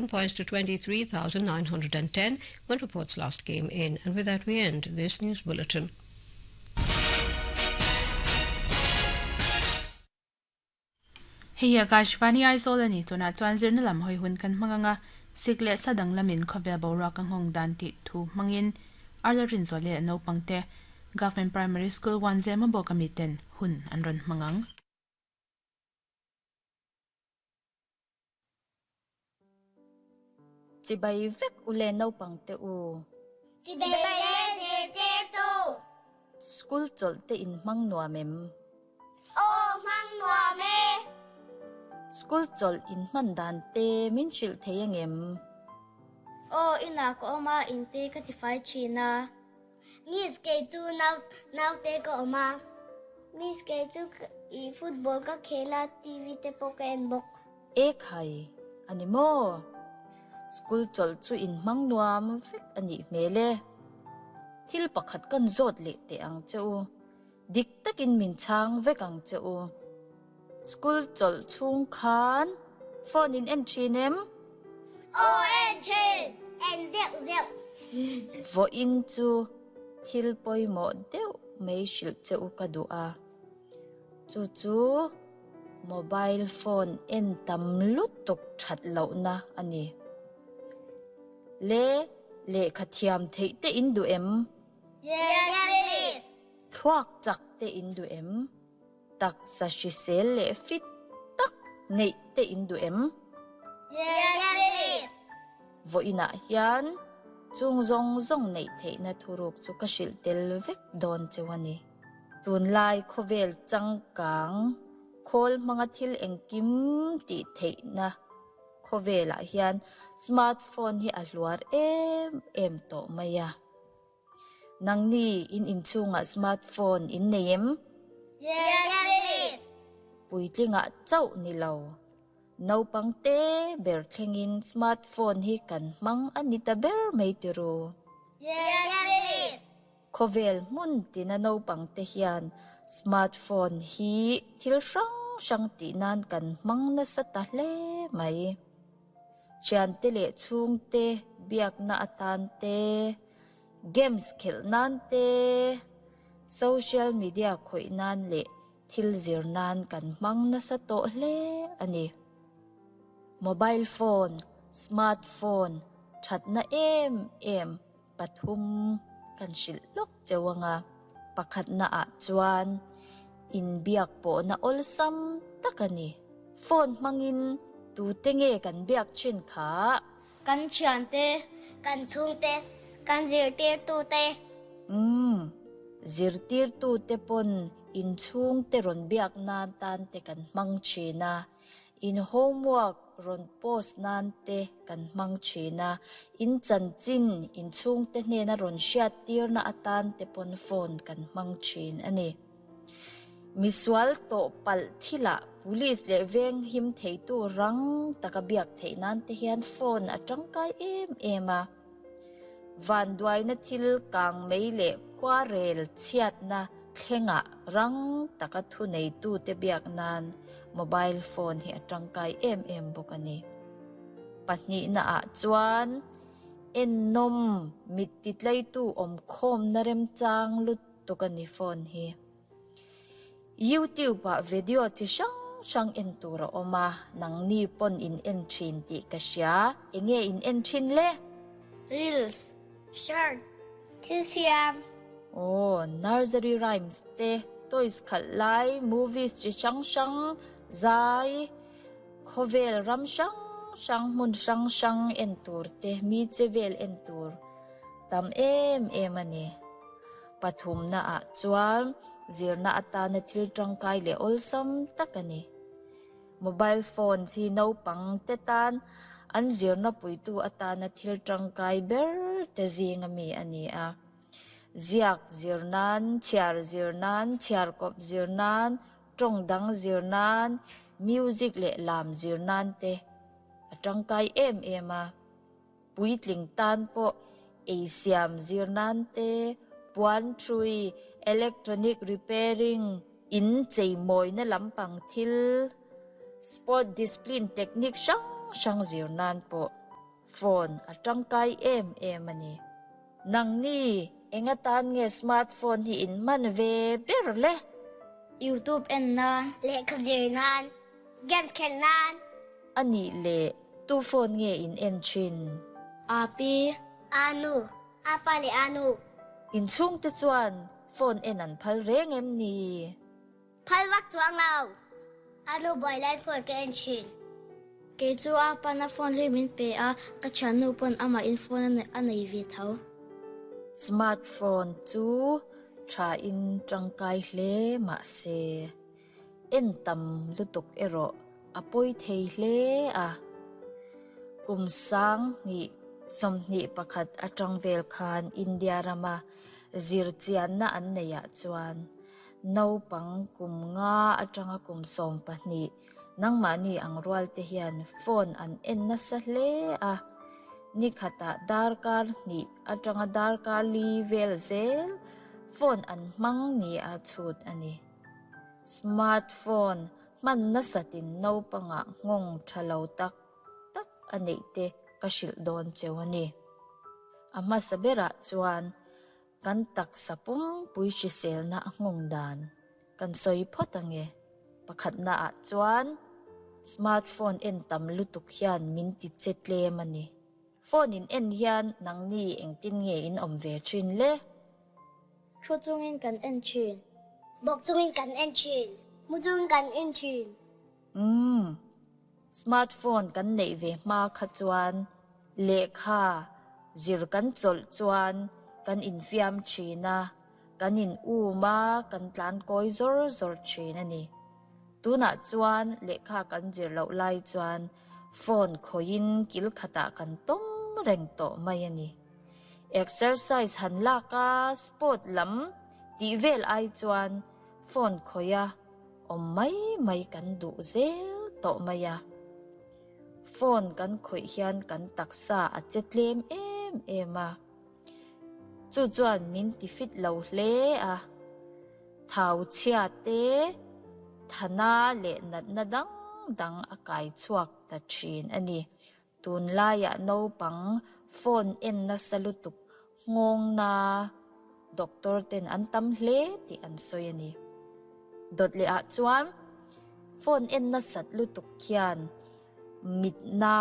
Points to 23,910 when reports last came in. And with that, we end this news bulletin. Hei hi Akashvani Aizawl a ni. Tunah chuan zirna lam hawi hun kan hmang anga sik leh sa dang lamin khawvel boruak a nghawng dan tih thu hmangin Arla Rinzual leh naupangte Government Primary School Wanzema bawk ami ten hun an rawn hmang ang. Chibai vek u le naupang te u. Chibai le zirtirtu. School chawlh te in hmang nuam em? Aw hmang nuam e. School chawlh in hman dan te min hrilh thei angem? Aw inah ka awm a, in te ka tifai thin a. Miss kei chu nau naute ka awm a. Miss kei chu i football ka khel a, TV te pawh ka en bawk. E khai, a ni maw? School chawlh chu in hmang nuam vek a nih hmel e. Thil pakhat kan zawt leh teh ang che u. Dik takin min chhang vek ang che u. School chawlh chhung khan phone in en thin em? Aw en thin, en zeuh zeuh. Vawiin chu thil pawimawh deuh mai hrilh che u ka duh a. Chu chu mobile phone en tam lutuk that lohna a ni. Le lehkha thiam theih te in duh em? Yes please. Thluak chak te in duh em? Taksa hrisel leh fit tak neih te in duh em? Yes please. Vawiinah hian chung zawng zawng neih theihna thuruk chu ka hrilh tel vek dawn cheu a ni. Tunlai khawvel changkang khawl hmanga thil engkim tih theihna khawvelah hian smartphone hi a hluar em em tawh mai a. Nangni in inchhungah smartphone in nei em? Yes please. Puitlingah chauh ni lo. Naupang te ber thlengin smartphone hi kan hmang a ni ta ber mai tiru. Yes please. Khawvel hmun tina naupang te hian smartphone hi thil hrang hrang tih nan kan hmang nasa ta hle mai. Thiante leh chhungte biakna atan te, games khelh nan te, social media khawih nan leh thil zir nan kan hmang nasa tawh hle a ni. Mobile phone, smart phone thatna em em pathum kan hrilh lawk cheu anga, pakhatna ah chuan inbiak pawhna awlsam tak a ni. Phone hmangin tute nge kan biak thin kha? Kan thiante, kan chhungte, kan zirtirtute. Umm, zirtirtute pawn inchhungte rawn biak nan tan te kan hmang thin a. In homework rawn post nan te kan hmang thin a, in chanchin in chhungte hnena rawn hriattirna atan te pawn phone kan hmang thin a ni. Misual tawh palh thilah police leh veng him theitu rang taka biak theih nan te hian phone a tangkai em em a. Vanduaina thil kang mei leh khuarel chhiatna thlengah rang taka thuneitute biak nan mobile phone hi a tangkai em em bawk a ni. Pahnihnaah chuan ennawm mit titleitu awmkhawmna remchang lutuk a ni phone hi. YouTube ah video chi hrang hrang en tur a awm a, nangni pawn in en thin tih ka hria, enge in en thin le? Reels, Short, thil siam. Aw, nursery rhymes te, toys khalh lai, movies chi hrang hrang, zai, khawvel ram hrang hrang, hmun hrang hrang en tur te, mi che vel en tur tam em em a ni. Pathumna ah chuan zirna atana thil tangkai leh awlsam tak a ni. Mobile phone hi naupang te tan an zirna puitu atana thil tangkai ber te zing ami a ni a. Ziak zir nan, chhiar zir nan, chhiarkawp zir nan, tawng dang zir nan, music leh lam zir nan te a tangkai em em a. Puitling tan pawh ei siam zir nan te, puan thrui, electronic repairing, in cheimawina lampang thil, sport discipline technique hrang hrang zir nan pawh. Phone a tangkai em em a ni. Nangni eng atan nge smartphone hi in hman ve ber le? Youtube en nan. Lehkha zir nan. Games khelh nan. A nih leh tu phone nge in en thin? Api. Anu. Apa leh anu. In chhungte chuan phone en an phal reng em ni? Phal vak chuang lo. Anu buai lai phone ka en thin. Kei chu a pana phone hlui min pe a, ka thiannu pawn amah in phone a nei ve tho. Smartphone chu tha in tangkai hle mahse en tam lutuk erawh a pawi thei hle a. Kum 2021 atang vel khan India rama zirchianna an neihah chuan naupang kum nga atanga kum 12 nangmahni ang rual te hian phone an en nasa hle a. Ni khatah darkar hnih atanga darkar li vel zel phone an hmang ni a chhut a ni. Smartphone hman nasatin naupangah nghawng tha lo tak tak a neih te ka hrilh dawn cheu a ni. A hmasa berah chuan kan taksa pumpui hriselna a nghawng dan kan sawi phawt ange. Pakhatna ah chuan smartphone en tam lutuk hian min ti che tlem a ni. Phone in en hian nangni engtin nge in awm ve thin le? Thu chungin kan en thin. Bawk chungin kan en thin. Mu chungin kan en thin. Smartphone kan neih ve hma kha chuan lehkha zir kan chawlh chuan kan infiam thin a, kan in um a, kan tlan kawi zawr zawr thin a ni. Tunah chuan lehkha kan zir loh lai chuan phone khawiin kil khatah kan tawm reng tawh mai a ni. Exercise han lak a, sport lam tih vel ai chuan phone khawia awm mai mai kan duh zel tawh mai a. Phone kan khawih hian kan taksa a che tlem em em a. Chu chuan min ti fit lo hle a. Thau chhia te, thana leh natna dang dang a kai chhuak ta thin a ni. Tunlaiah naupang phone en nasa lutuk nghawng na doctor ten an tam hle tih an sawi a ni. Dawt leh ah chuan phone en nasat lutuk khian mit na,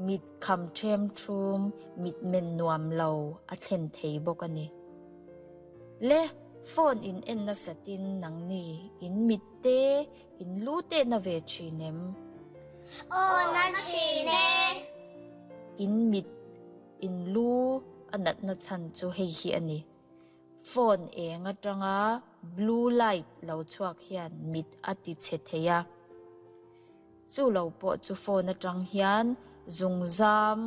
mit kham them thum, mit men nuam lo a thlen thei bawk a ni. Le phone in en nasatin nangni in mit te in lu te na ve thin em? Aw na thin e. In mit in lu a natna chhan chu hei hi a ni. Phone eng atanga blue light lo chhuak hian mit a ti che thei a. Chu lo pawh chu phone atang hian zungzam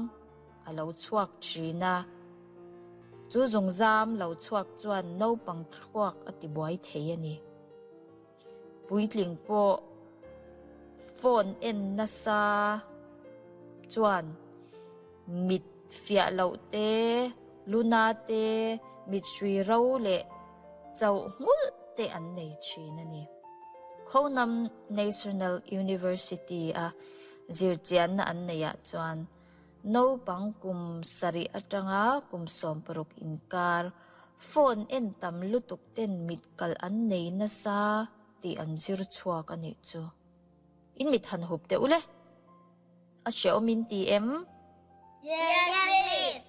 a lo chhuak thin a. Chu zungzam lo chhuak chuan naupang thluak a ti buai thei a ni. Puitling pawh phone en nasa chuan mit fiah loh te, luna te, mit hrui ro leh chauh nghulh te an nei thin a ni. Khonam National University a zirchianna an neihah chuan naupang kum 7 atanga kum 16 inkar phone en tam lutuk ten mit kal an nei nasa tih an zir chhuak a nih chu. In mit han hup te ule. A hre awm in ti em? Yes, miss.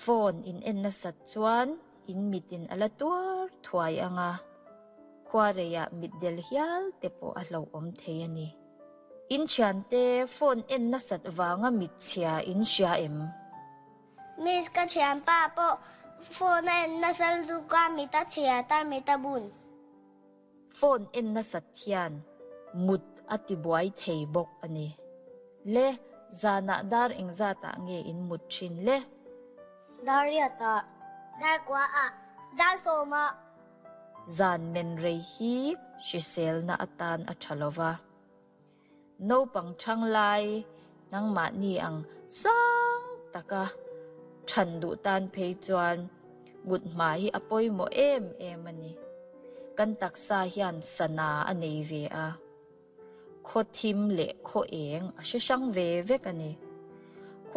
Phone in en nasat chuan in mitin ala tuar thuai anga. Khuareiah mit del hial te pawh a hlo awm thei a ni. In thian te phone en nasat wanga mit chhia in hria em? Miss ka thian pa pawh phone en nasal luka mita chhia ta mita bun. Phone en nasat hian mut a ti buai thei bawk a ni. Le zana dar engzatah nge in mut thin le? Dar riata. Dar kwa a. Dar sawma. Zan men rei hi hriselna atan a tha lova. Naupang thang lai nangmah ni ang sang taka than duh tan phei chuan mut hma hi a pawimawh em em a ni. Kan taksa hian sana a nei ve a. Khaw thim leh khaw eng a hre hrang ve vek a ni.